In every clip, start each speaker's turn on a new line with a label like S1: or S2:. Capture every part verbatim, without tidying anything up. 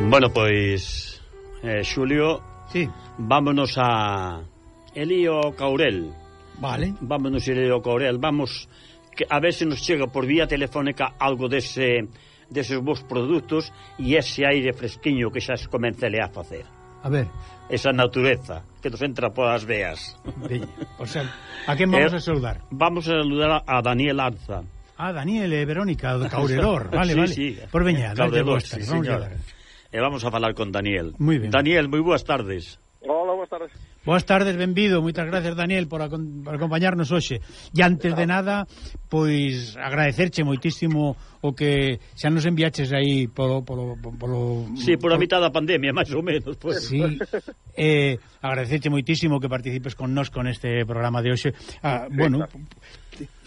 S1: Bueno, pois eh, Xulio,
S2: sí.
S1: Vámonos a Elío Caurel.
S2: Vale.
S1: Vámonos a Elío Caurel. Vamos que a ver se nos chega por vía telefónica algo dese deses vos produtos e ese aire fresquiño que xa se comenzele a facer.
S2: A ver.
S1: Esa natureza que nos entra polas veas.
S2: Veña, o sea, a quen vamos eh, a saludar?
S1: Vamos a saludar a Daniel Arza.
S2: Ah, Daniel e Verónica de Caurelor. Vale,
S1: sí,
S2: vale.
S1: Sí,
S2: por veña, dale
S1: vos, sí,
S2: vamos
S1: a E vamos a falar con Daniel.
S2: Muy ben.
S1: Daniel, moi boas tardes.
S3: Hola, boas tardes.
S2: Boas tardes, benvido. Moitas gracias, Daniel, por, por acompañarnos hoxe. E antes de nada, pois agradecerche moitísimo o que xa nos enviaches aí polo... polo, polo
S1: sí, por a mitad da pandemia, máis ou menos. Pues.
S2: Sí, eh, agradecerche moitísimo que participes con nós con este programa de hoxe. Ah, sí, bueno, claro.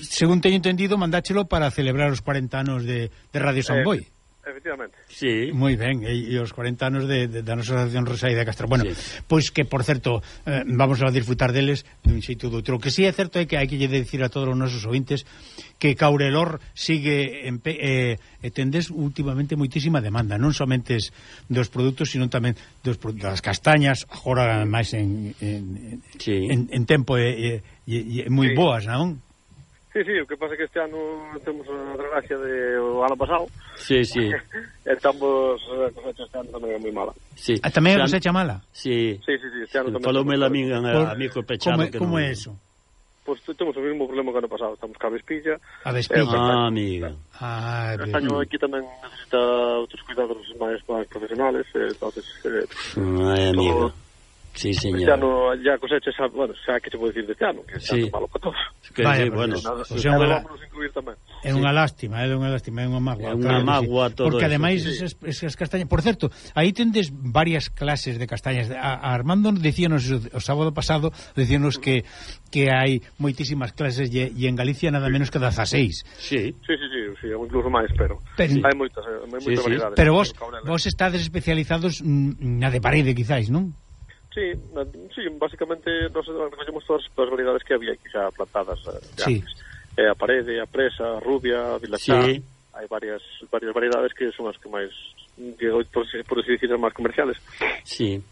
S2: Según teño entendido, mandáchelo para celebrar os cuarenta anos de, de Radio San Boi. Eh.
S3: Efectivamente.
S1: Sí.
S2: Moi ben, e, e os cuarenta anos de, de, da nosa asociación Rosaida de Castro. Bueno, sí. Pois que, por certo, eh, vamos a disfrutar deles dun xeito do outro. O que sí é certo é que hai que lle dicir a todos os nosos ouvintes que Caurelor sigue en pe, eh, e tendes últimamente moitísima demanda, non somente dos produtos, sino tamén dos, das castañas, agora máis en, en,
S1: sí.
S2: en, en tempo e, e, e moi sí. boas, non?
S3: Sí, sí, o que pasa é que este ano temos a desgracia de o ano pasado.
S1: Sí, sí.
S3: Estamos, a cosecha este ano tamén é moi mala.
S2: Sí. Ah, tamén a cosecha mala?
S1: Sí.
S3: Sí, sí, sí, este ano tamén.
S1: Faloume a mí, a mí co pechado.
S2: Como,
S1: que
S2: como
S1: non...
S2: é eso?
S3: Pois pues, temos o mesmo problema que ano pasado. Estamos ca vespilla.
S2: A vespilla?
S1: Eh, ah, amiga.
S2: Ah,
S3: este año aquí tamén necesita outros cuidados máis, máis profesionales. Eh, entonces, eh,
S1: Ai, amiga. Todo... Sí, señor.
S3: Este ano ya cosecha, xa, bueno, xa que se pode dicir deste ano, que xa sí. é malo para todos.
S1: Que Vaya, sí, bueno.
S3: Nada,
S2: o sea,
S3: la... vamos incluir tamén.
S2: É unha lástima, é unha lástima, é unha mágoa.
S1: É unha mágoa todo.
S2: Porque ademais
S1: sí.
S2: esas, esas castañas, por certo, aí tendes varias clases de castañas. A, a Armando dicíanos o sábado pasado, dicíanos que que hai moitísimas clases e, e en Galicia nada menos que dezaseis.
S1: Sí.
S3: Sí, sí, sí, sí, incluso máis, pero, pero hai moitas, hai moitas
S1: sí,
S3: variedades.
S2: Pero vos, vos estades especializados na de parede, quizáis, non?
S3: Sí, sí, basicamente nos recollemos todas as variedades que había aquí xa plantadas
S2: sí.
S3: antes. Eh, a parede, a presa, a rubia, a vilachá.
S1: Sí.
S3: Hai varias varias variedades que son as que máis, que, por, por así decir, as máis comerciales.
S1: Sí.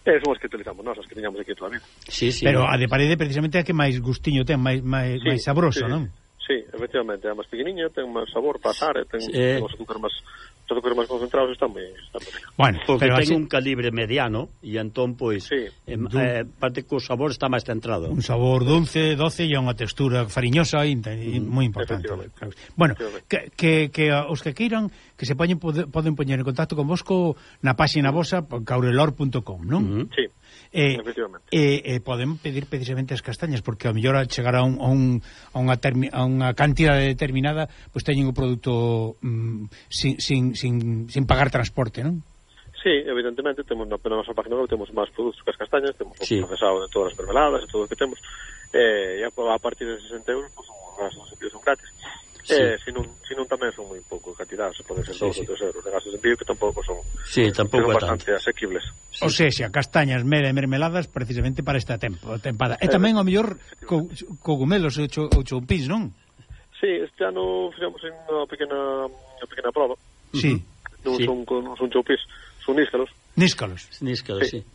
S3: Eh, son as que utilizamos nós, as que teñamos aquí toda a vida.
S1: Sí, sí.
S2: Pero a de parede precisamente é a que máis gustiño ten, máis, máis,
S3: sí,
S2: máis sabroso,
S3: sí.
S2: non?
S3: Sí, efectivamente, é máis pequeniña, ten máis sabor, pasar, ten
S1: sí.
S3: os azúcar máis... os azúcares máis concentrados están moi...
S1: Bueno, porque ten
S2: así...
S1: un calibre mediano e entón, pois,
S3: sí.
S1: eh, eh, parte que o sabor está máis centrado.
S2: Un sabor dulce, doce e unha textura fariñosa e mm. moi importante. Bueno, que, que, que os que queiran que se poñen, pode, poden poñer en contacto con vos co, na páxina vosa caurelor punto com, non?
S3: Uh -huh. Sí.
S2: E eh, eh, poden pedir precisamente as castañas porque a mellor a chegar a, un, a, un, a, unha, termi, a unha cantidade determinada pois pues, teñen o produto mm, sin, sin, sin, sin pagar transporte, non?
S3: Sí, evidentemente temos na nosa página web temos máis produtos que as castañas, temos
S1: sí.
S3: o procesado de todas as mermeladas e todo o que temos eh, e a, a partir de sesenta euros pues, os gastos de envío son gratis. Sí. Eh, se non, se non tamén son moi pouco cantidades, poden ser dous sí, ou tres euros de gastos de envío que tampouco son,
S1: sí, tampouco
S3: son bastante tanto. Asequibles.
S2: Sí. O sea, xa, castañas, mera e mermeladas precisamente para esta tempo, tempada. E tamén, ao mellor, co, cogumelos ou choupís, non?
S3: Sí, este ano fixemos unha pequena, unha pequena prova.
S2: Sí.
S3: Non
S1: sí.
S3: son, non son choupís, son níscalos.
S2: Níscalos.
S1: Níscalos, sí. sí.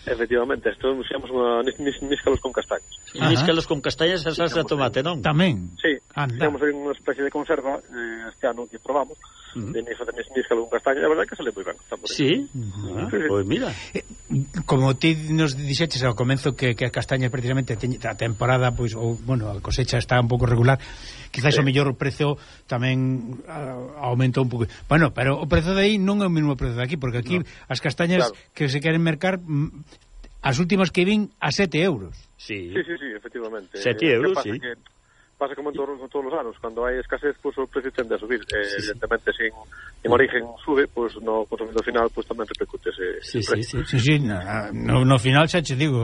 S3: Efectivamente, isto fixemos unha níscalos con castañas.
S1: Níscalos con castañas e salsa de tomate, non?
S2: Tamén.
S3: Sí, fixemos unha especie de conserva eh, este ano que probamos. Uh -huh. De níscalo con castañas, a verdade que sale moi ben.
S1: Sí? Uh -huh. ah, pois pues mira.
S2: Eh, como ti nos dixeches ao comenzo que, que as castañas precisamente a temporada, pois, ou, bueno, a cosecha está un pouco regular, quizás sí. o mellor o prezo tamén uh, aumentou un pouco. Bueno, pero o prezo de aí non é o mesmo prezo de aquí, porque aquí no. as castañas claro. que se queren mercar, as últimas que vin a sete euros.
S3: Sí, sí, sí, sí efectivamente.
S1: sete euros, sí.
S3: Que pasa como en todos, todos os anos, cando hai escasez, pues, o precio tende a subir. Eh, sí, evidentemente, sin en origen sube, pues, no consumidor final pues, tamén repercute ese,
S1: sí,
S3: ese
S1: sí, sí,
S2: sí, sí, no, no final xa che digo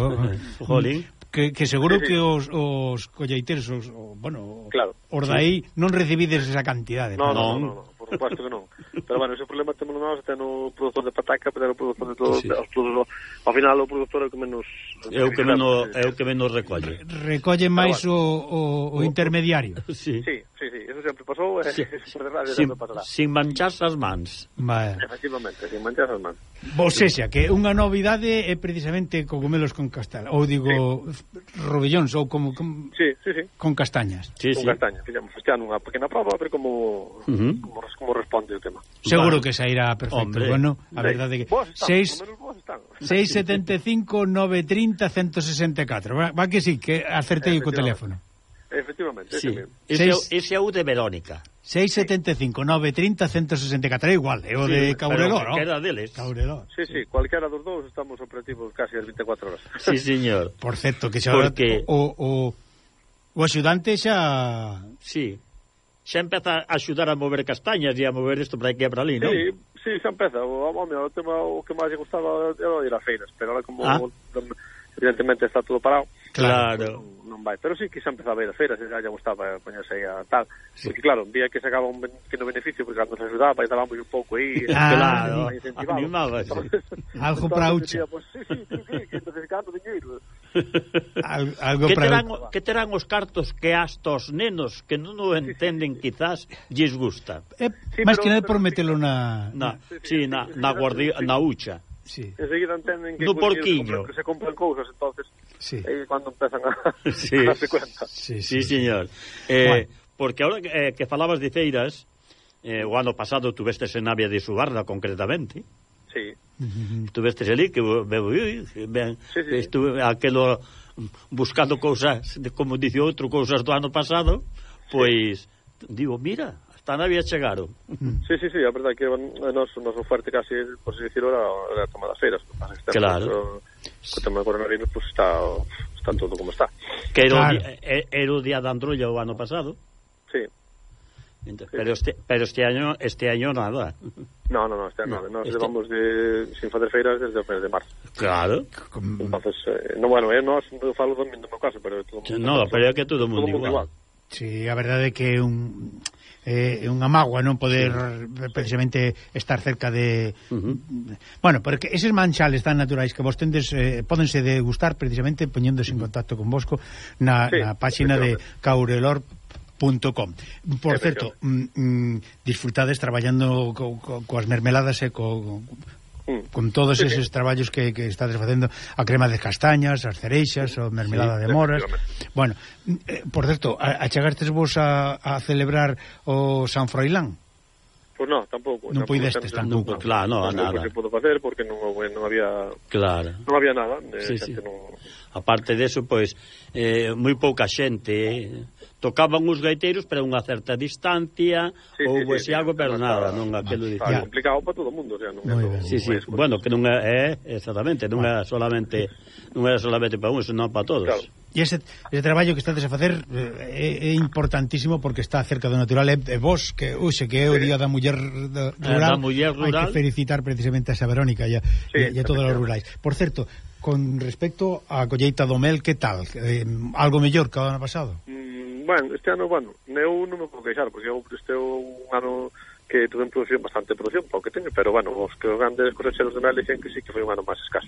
S1: Jolín.
S2: que, que seguro
S3: sí, sí.
S2: que os, os colleiteros os, o, bueno,
S3: claro.
S2: os dai sí. non recibides esa cantidade.
S3: No, no, no, no, no, por suposto que non. Pero bueno, ese problema temos nós, ten o produtor de pataca, pero o produtor de todos, sí. os produtos, ao final o produtor é o que menos
S1: é o que menos é o que menos recolle.
S2: Recolle máis bueno. o, o, o intermediario.
S1: Sí.
S3: Sí, sí, sí, sí, eso sempre pasou, e
S1: Sí.
S3: por desgracia
S1: sin,
S3: sempre pasará.
S1: sin mancharse as mans.
S2: Vale.
S3: Efectivamente, sin mancharse as mans.
S2: Ou sexa, que unha novidade é precisamente cogumelos con castañas, ou digo, sí. rovellóns, ou como, como
S3: Sí, sí, sí.
S2: con castañas.
S1: Sí,
S3: Con
S1: sí.
S3: castaña. Fixemos este ano unha pequena prova a ver como,
S1: Uh -huh.
S3: como, como responde o tema.
S2: Seguro
S1: Vale.
S2: que sairá perfecto.
S1: Hombre.
S2: Bueno, a
S3: Sí.
S2: verdade que
S3: Vos están,
S2: seis
S3: por lo menos vos están.
S2: seis setenta e cinco nove trinta ciento sesenta e catro. Va, va que sí, que acertei co teléfono.
S3: Efectivamente,
S1: Sí.
S3: ese mesmo.
S1: Ese,
S2: Seis-
S1: ese é o de Verónica.
S2: seis setenta e cinco nove trinta ciento sesenta e catro. É igual, é o
S1: Sí,
S2: de Caurelor,
S1: pero que era
S2: ¿no?
S1: deles.
S2: Caurelor.
S3: Sí, sí, cualquiera dos dous estamos operativos casi as veinticuatro horas.
S1: Sí, señor.
S2: Por certo, que xa
S1: Porque-
S2: o, o, o axudante xa...
S1: Sí. Xa empeza a axudar a mover castañas e a mover isto para aquí e para ali, non?
S3: Sí, sí, xa empeza. O, o, o tema o que máis lle gustaba era ir a feiras, pero ahora como
S1: Ah.
S3: evidentemente está todo parado,
S1: Claro.
S3: non, non vai. Pero sí que xa empezaba a ir a feiras, e xa lle gustaba poñerse aí a tal. Sí. Porque claro, vía que sacaba un pequeno beneficio, porque cando se ajudaba e dábamos un pouco aí,
S2: Ah,
S1: claro.
S3: aí incentivado.
S1: Animaba, sí.
S2: Algo
S3: Entonces
S2: para
S3: decía,
S2: Ucha.
S3: pues, sí, sí, sí, sí, que necesitando dinheiro.
S2: Al, algo
S1: Que
S2: para...
S1: terán, que terán os cartos que hasta os nenos que non o entenden quizás lles gusta.
S2: Eh,
S3: Sí,
S2: máis
S3: pero-
S2: que nada
S3: pero-
S2: por metelo na...
S1: Na,
S3: Sí, sí,
S1: sí,
S3: sí,
S1: na,
S3: sí,
S1: na,
S3: sí,
S1: guardi,
S3: sí.
S1: na hucha.
S2: Sí,
S3: Enseguida entenden que
S1: No
S3: con dinheiro
S1: porquiño.
S3: se, compran, se compran cousas, entonces
S2: sí.
S3: aí é cando empezan a,
S1: Sí.
S3: a darse cuenta.
S2: Sí,
S1: Sí, señor. Eh,
S2: Bueno.
S1: Porque ahora que, eh, que falabas de feiras, eh, o ano pasado tuvestes en Navia de Subarra, concretamente.
S3: Sí.
S1: Tuvestes ali, que veo, ben,
S3: Sí, sí, sí.
S1: estuve aquelo buscando cousas, de, como dice outro, cousas do ano pasado, pois, digo, mira, hasta Navia chegaron.
S3: Sí, sí, sí, a verdade que a noso, noso fuerte casi, por así decirlo, era, era a toma das feiras. O que pasa é que
S1: Claro.
S3: O, o tema do coronavirus, pues está, está todo como está.
S1: Que era,
S2: Claro.
S1: o, di- eh, era o día da Androlla o ano pasado.
S3: Sí.
S1: Entón, pero este, pero este año este año nada.
S3: No, no, no, este ano,
S1: No,
S3: nos
S1: este-
S3: levamos de, sin facer feiras desde o mes de marzo.
S1: Claro.
S3: Entonces, eh, no, bueno, eh, nós, eu falo do meu caso, pero todo mundo,
S1: No, pero é que todo o mundo
S3: todo mundo
S1: igual.
S3: igual.
S2: Sí, a verdade é que é un é unha mágoa non poder sí. precisamente estar cerca de
S1: Uh -huh.
S2: bueno, porque eses manchales tan naturais que vos tendes eh, pódense degustar precisamente poñéndose en contacto con vosco na,
S3: Sí,
S2: na páxina de caurelor punto com. Por certo, mm, mm, disfrutades traballando co, co, coas mermeladas e co,
S3: Mm.
S2: con todos
S3: Sí,
S2: eses
S3: sí.
S2: traballos que, que estades facendo, a crema de castañas, as cereixas, o mermelada
S3: Sí,
S2: de moras.
S3: efectivamente.
S2: Bueno, eh, por certo, a- achegastes vos a, a celebrar o San Froilán?
S3: Pues no, tampouco.
S2: Non
S3: tampouco
S2: puidestes
S3: temos-
S2: tampouco.
S1: Claro, no,
S3: tampouco
S1: nada.
S3: se pudo facer porque non, houve- non había
S1: Claro.
S3: non había nada. De
S1: Sí,
S3: xente
S1: sí.
S3: non...
S1: Aparte deso, pois, eh, moi pouca xente eh, tocaban os gaiteiros, pero a unha certa distancia,
S3: Sí, sí,
S1: houve
S3: sí,
S1: ese algo,
S3: sí,
S1: pero
S3: está-
S1: nada, non aquilo
S3: Está
S1: dicía.
S3: complicado para todo o mundo, o sea, non é
S2: Moi
S3: todo-
S2: ben.
S1: Sí, sí,
S3: non é
S1: bueno, que non é, é exactamente, non é solamente non é solamente para uns, senón para todos.
S3: Claro.
S2: E ese, ese traballo que estades a facer eh, é, é importantísimo porque está cerca do natural e, e vos, que uxe, que é o
S3: Sí.
S2: Día da Muller da,
S1: Eh,
S2: Rural,
S1: da muller
S2: hai
S1: rural.
S2: que felicitar precisamente a esa Verónica e a,
S3: Sí,
S2: e a todos os rurais. Por certo, con respecto á colleita do mel, que tal? Eh, algo mellor que o ano pasado?
S3: Mm, bueno, este ano, bueno, eu non me podo queixar, porque eu este é un ano que tuve en producción, bastante producción, para o que teño, pero bueno, os que os grandes cosecheros de mel dicen que sí que foi un ano máis escaso.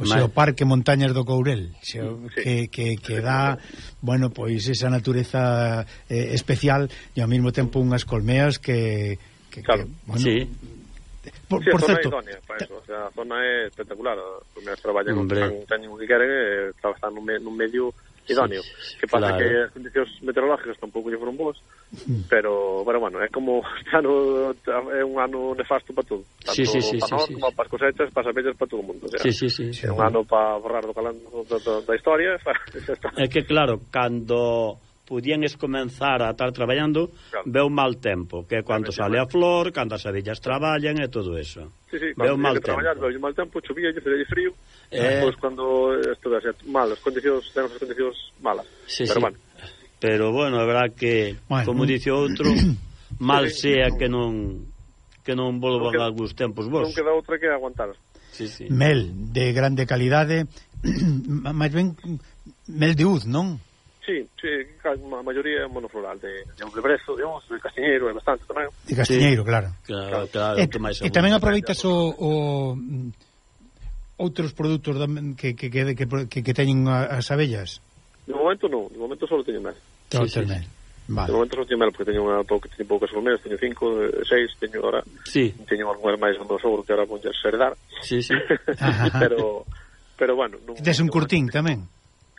S2: O sea, o
S1: Mal.
S2: Parque Montañas do Courel, xeo,
S3: Sí.
S2: que, que, que dá, bueno, pois esa natureza eh, especial e ao mesmo tempo unhas colmeas que, que,
S3: Claro.
S2: que bueno,
S1: Sí.
S2: por,
S3: Sí,
S2: por
S3: a zona
S2: certo,
S3: é idónea para eso, o sea, a zona é espectacular, os meus traballan,
S1: Hombre.
S3: Hombre. teñen o que queren, e están nun, me, nun medio idóneo.
S1: Sí,
S3: Que pasa
S1: claro.
S3: que as condicións meteorológicas tampouco lle foron boas, pero, pero bueno, é como este ano é un ano nefasto para todo. Tanto
S1: Sí, sí, sí,
S3: para
S1: sí,
S3: nós,
S1: sí.
S3: como para as cosechas, para as abellas, para todo o mundo. O sea,
S1: Sí, sí, sí.
S3: é un ano para borrar do calando da, da, da historia, xa está.
S1: É que claro, cando pudienes comenzar a estar traballando,
S3: Claro.
S1: veu mal tempo, que é cando sale a flor, cando as abellas traballan e todo eso.
S3: Sí, sí,
S1: Veu
S3: cando
S1: mal
S3: mal que traballar,
S1: tempo.
S3: veu mal tempo, chovía, lle fría frío,
S1: Eh.
S3: e depois cando isto dá mal, as condicións, temos as condicións malas.
S1: Sí,
S3: pero
S1: sí.
S3: bueno,
S1: Pero bueno, é verdad que,
S2: Bueno.
S1: como dice outro, mal
S3: Sí, sí,
S1: sea
S3: non-
S1: que non que non volvan
S3: non queda-
S1: algúns tempos vos.
S3: non queda outra que aguantar.
S1: Sí, sí.
S2: mel de grande calidade, máis ben mel de uz, non?
S3: Sí, sí, a maioría é monofloral, de, de un lebrezo, de once, de castiñeiro, é bastante tamén.
S2: De castiñeiro, claro.
S1: Claro, claro,
S2: E,
S1: que máis
S2: e tamén aproveitas o, o mm, outros produtos da- que, que, que, que, que, que teñen a- as abellas.
S3: De momento non, de momento só teño mel.
S2: Todo
S1: Sí, sí,
S2: mel. Vale.
S3: De momento non teño mel, porque teño unha pouca, teño poucas colmenas, teño cinco, seis, teño agora,
S1: sí.
S3: teño algunhas máis do meu sogro que ahora vonlle herdar.
S1: Sí, sí.
S3: pero, pero bueno. Non,
S2: Tes un curtín tamén?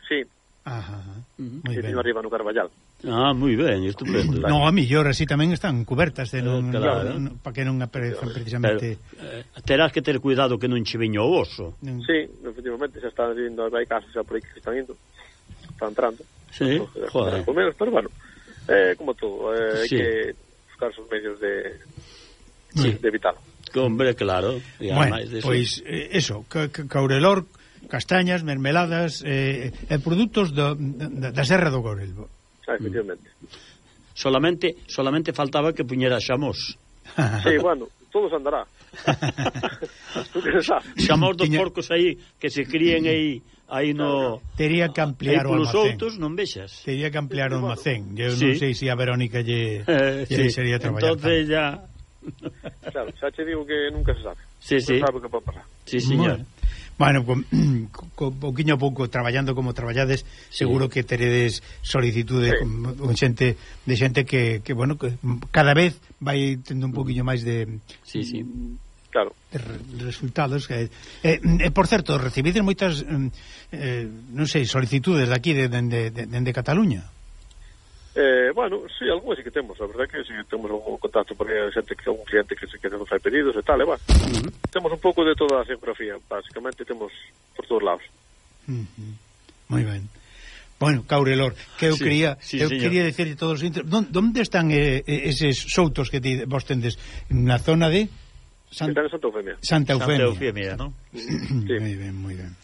S3: Sí.
S2: Ajá, ajá.
S3: Uh-huh.
S2: Moi
S3: sí,
S2: ben.
S3: teño arriba no Carballal.
S1: Ah, moi ben, estupendo.
S2: No, a millor, así tamén están cubertas, de non,
S1: claro.
S2: no, no, para que non aparezcan precisamente...
S1: Pero, eh, terás que ter cuidado que non che veño o oso.
S2: Non...
S3: Sí, efectivamente, xa están indo, hai casos xa por aí que están indo, están entrando.
S1: Sí,
S3: Entonces,
S1: joder.
S3: Menos, pero bueno, eh, como todo, eh, hai
S1: Sí.
S3: que buscar sus medios de,
S2: Sí.
S3: de evitarlo.
S1: Hombre, claro. E
S2: Bueno,
S1: ademais de eso.
S2: pois eh, eso, ca ca caurelor, castañas, mermeladas eh, e produtos do, da, da Serra do Gorelbo.
S3: Ah, efectivamente.
S1: Solamente, solamente faltaba que puñera xamos.
S3: Sí, bueno, todo se andará. Tú que sabes.
S1: Xamos dos
S2: Tiña...
S1: porcos aí que se críen aí aí no...
S2: Tería que ampliar
S1: aí
S2: o
S1: polos
S2: almacén.
S1: outros non vexas.
S2: Tería que ampliar o almacén. Eu
S1: Sí.
S2: non sei se a Verónica lle,
S1: Eh,
S2: lle
S1: sí.
S2: sería traballar.
S1: Entonces ya...
S3: Claro, xa che digo que nunca se sabe.
S1: Sí, sí.
S3: Non sabe o que pode pasar.
S1: Sí, señor.
S2: Bueno, con, con pouquiño a pouco traballando como traballades,
S1: Sí.
S2: seguro que teredes solicitude
S3: Sí.
S2: con, con xente de xente que, que bueno, que cada vez vai tendo un pouquiño máis de,
S1: Sí, sí.
S3: Claro.
S2: de re- resultados. Eh, eh, eh, por certo, recibides moitas eh, non sei, solicitudes daqui de, de, de, de, de Cataluña.
S3: Eh, bueno, sí, algúas sí que temos, a verdade que sí que temos algún contacto por aí, xente que algún cliente que se que nos fai pedidos e tal, e bueno.
S1: Uh-huh.
S3: Temos un pouco de toda a geografía, basicamente temos por todos lados.
S2: Uh -huh. Moi ben. Bueno, Caurelor, que eu
S1: Sí,
S2: quería
S1: sí,
S2: eu
S1: señor.
S2: quería decir a todos os inter... onde están eh, eses soutos que ti, vos tendes na zona de San...
S3: Están en Santa Eufemia.
S2: Santa Eufemia.
S1: Santa Eufemia, ¿no?
S3: Sí.
S2: Moi ben, moi ben.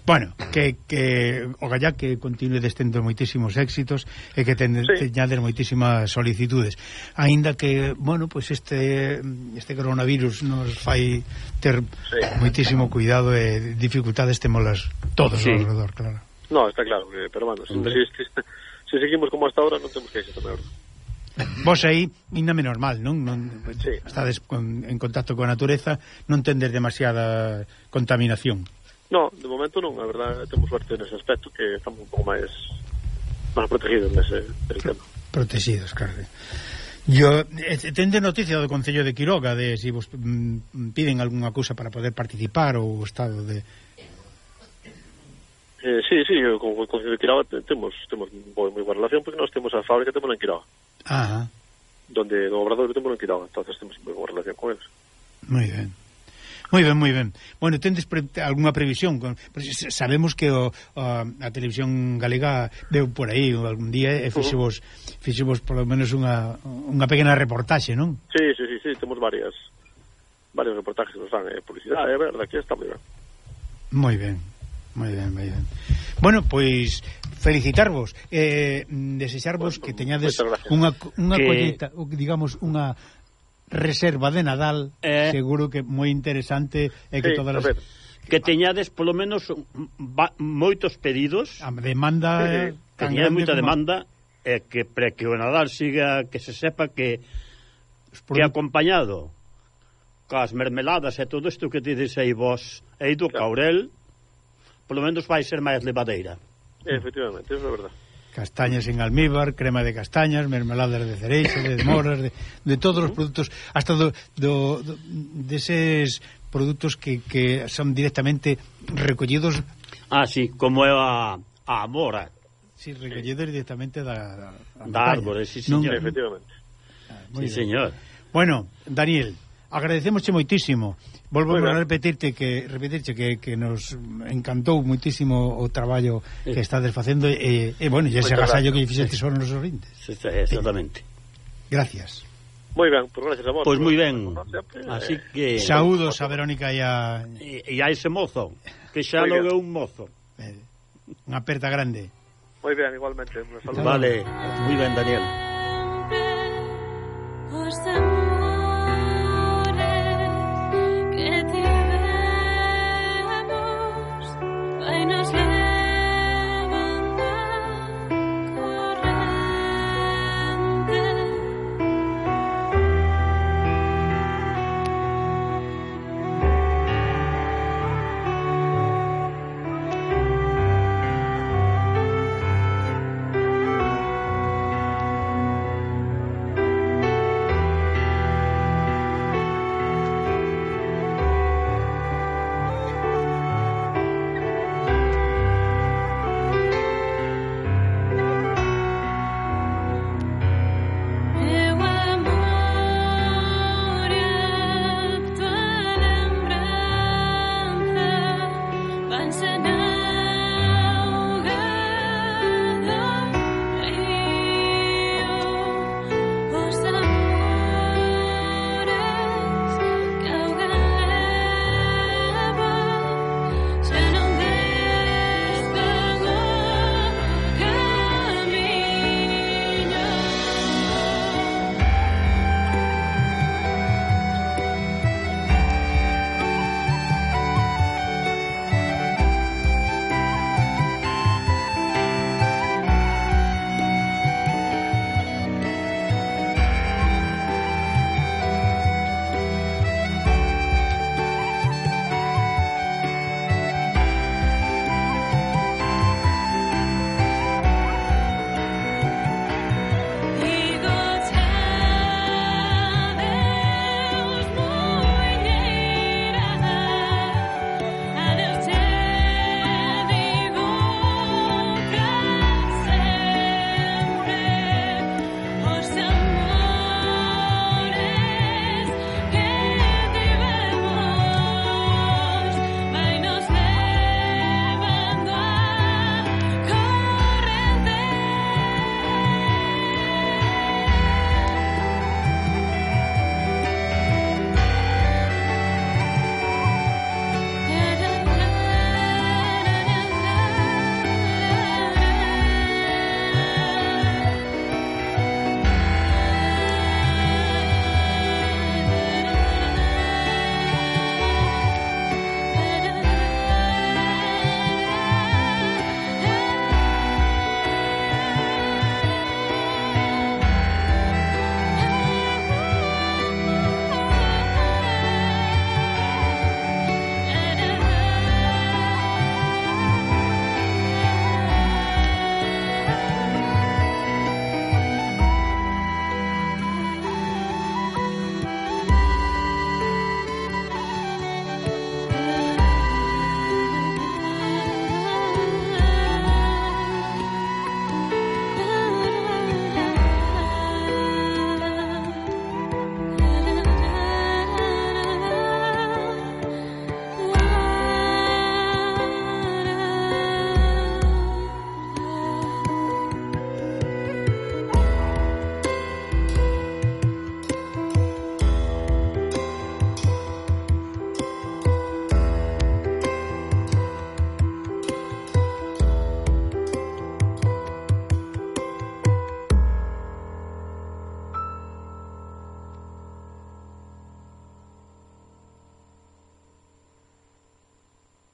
S2: Bueno, que, que o gallá que continue destendo moitísimos éxitos e que ten,
S3: Sí.
S2: teñades moitísimas solicitudes. Aínda que, bueno, pois pues este este coronavirus nos fai ter
S3: Sí.
S2: moitísimo cuidado e dificultades temolas todos
S1: Sí.
S2: alrededor, claro.
S3: No, está claro, que, pero bueno, si, si, si, si seguimos como hasta ahora non temos que irse tamén.
S2: Vos aí, ainda menos mal, non? non
S3: Sí.
S2: Estades con, en contacto coa natureza, non tendes demasiada contaminación.
S3: No, de momento non, a verdade temos suerte nese aspecto que estamos un pouco máis máis protegidos nese, nese tema.
S2: Protegidos, claro. Yo, eh, tende noticia do Concello de Quiroga de se si vos mm, piden algunha cousa para poder participar ou o estado de...
S3: Eh, sí, sí, con o Concello de Quiroga temos temos moi, moi boa relación porque nós temos a fábrica temos en Quiroga,
S2: Ah,
S3: donde no Obrador temos en Quiroga, entonces temos moi boa relación con eles.
S2: moi ben. Moi ben, moi ben. Bueno, tendes pre algunha previsión? Con, sabemos que o, o, a televisión galega veu por aí algún día e fixevos, fixevos polo menos unha, unha pequena reportaxe, non?
S3: Sí, sí, sí, sí, temos varias varios reportajes que nos dan eh, publicidade, é verdade, aquí está moi ben.
S2: Moi ben, moi ben, moi ben. Bueno, pois felicitarvos, eh, desexarvos
S3: Bueno,
S2: que teñades
S3: moitas gracias.
S2: unha, unha
S1: Que-
S2: colleta, ou que digamos, unha reserva de Nadal,
S1: Eh.
S2: seguro que moi interesante e que
S3: Sí,
S2: todas
S3: a
S2: as
S3: ver.
S1: Que teñades polo menos va, moitos pedidos,
S2: a demanda
S3: Sí, sí.
S2: eh,
S1: que
S2: tan
S1: teñades
S2: grande
S1: moita
S2: como-
S1: demanda e que para que o Nadal siga, que se sepa que
S2: os
S1: que
S2: produtos-
S1: acompañado coas mermeladas e todo isto que tedes aí vos e do
S3: Claro.
S1: Caurel, polo menos vai ser máis levadeira.
S3: Efectivamente, eso é verdade.
S2: castañas en almíbar, crema de castañas, mermeladas de cereixa, de moras, de, de todos os produtos, hasta do, do, do deses produtos que, que son directamente recollidos,
S1: Ah, sí, como é a, a mora
S2: sí, recollidos directamente da, da,
S1: da
S2: montaña.
S1: árbore, sí,
S2: Non-
S1: señor.
S3: Efectivamente.
S2: Ah,
S1: Sí,
S2: moi ben.
S1: señor.
S2: Bueno, Daniel, agradecemosche moitísimo. Volvo
S3: Moi
S2: a
S3: ben.
S2: repetirte que repetirche que, que nos encantou moitísimo o traballo que estades facendo e, e bueno, e ese
S3: Moitas
S2: agasallo
S3: gracias.
S2: que fixetes aos nosos ouvintes.
S1: Sí, sí, exactamente.
S2: Gracias.
S3: Moi ben, por gracias a vos.
S1: Pois
S3: por-
S1: moi ben.
S3: por sempre,
S1: Así
S3: eh,
S1: que
S2: Saúdos a Verónica e a,
S1: e, e a ese mozo, que xa
S3: Oiga.
S1: logo é un mozo.
S2: eh, unha aperta grande.
S3: moi ben, igualmente. Un saludo.
S1: Vale, moi ben, Daniel.
S4: Por